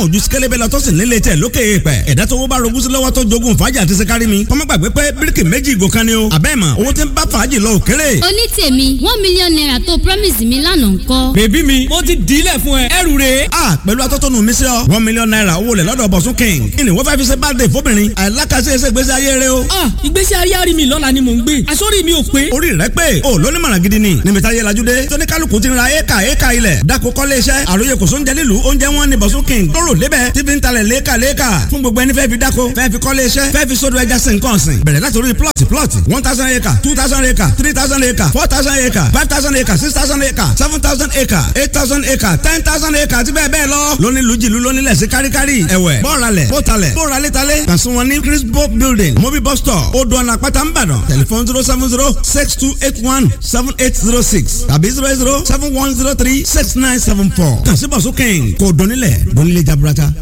kàn ojú sikẹ́lẹ́bẹ̀ lọ tó sì nílé tẹ̀ lókè èèpẹ̀. Ẹ̀dá tó wọ́n bá rogún sí lọ́wọ́ tó jogún fàájì àti sikari mi. Kọ́mọ́ gbàgbé pé bíríkì méjì ìgò kan ni o. Àbẹ́ mọ̀ owó tí ń bá fàájì lọ òkèrè. Oní tèmi, ₦1 million tó promise mi lánàá ńkọ́? Baby mi, mo ti dìílẹ̀ fún ẹ, ẹrù rèé. A pẹ̀lú atọ́tọ́nu mi sí ọ. ₦1 million owó lẹ̀ lọ́dọ̀ Bọ̀sún King. Kí ni wọ́n fẹ́ fi ṣe birthday fóbìnrin? Àìlákàṣe ẹsẹ̀ ìgbésí ayé rẹ o. Ah, ìgbésí ayé àrí mi lọ́la ni mò ń gbé. Àsórí mi ò pé. Orí rẹ pé o lóní mọ̀ràn gidi ni. Níbi táyé lajú dé. Tóní kálukú ti ra éka éka ilẹ̀. Dako kọ́lé iṣẹ́. Àròyé kò sóúnjẹ nílùú. Oúnjẹ wọn ni Bọ̀sún King. Lóró lébẹ̀ tí fi ń talẹ̀ léka léka. Fún gbogbo ẹni fẹ́ fi dáko, fẹ́ fi kọ́lé iṣẹ́, fẹ́ fi sódò ẹja sí nǹkan ọ̀sìn. Bẹ̀rẹ̀ láti orí plot plot 1,000 acre, 2,000 acre, 3,000 acre, 4,000 acre, 5,000 acre, 6,000 acre, 7,000 acre, 8,000 acre, 10,000 acre àti bẹ́ẹ̀ bẹ́ẹ̀ lọ. Lóní lùjìlú lónílẹ̀ sí káríkárí. Ẹ̀wẹ̀ bọ́ọ̀ralẹ̀ bọ́ọ̀talẹ̀ bọ́ọ̀ralẹ̀talẹ̀. Kàn sí wọn ní Crispo building, Mobi bus stop, Odò ọ̀nà àpáta ńbàdàn. Tẹlifon 07062817806 tàbí 0071036974. Kàn sí Bọ̀sún King kò dọ́nilẹ̀ dọ́nilẹ̀ jaburata.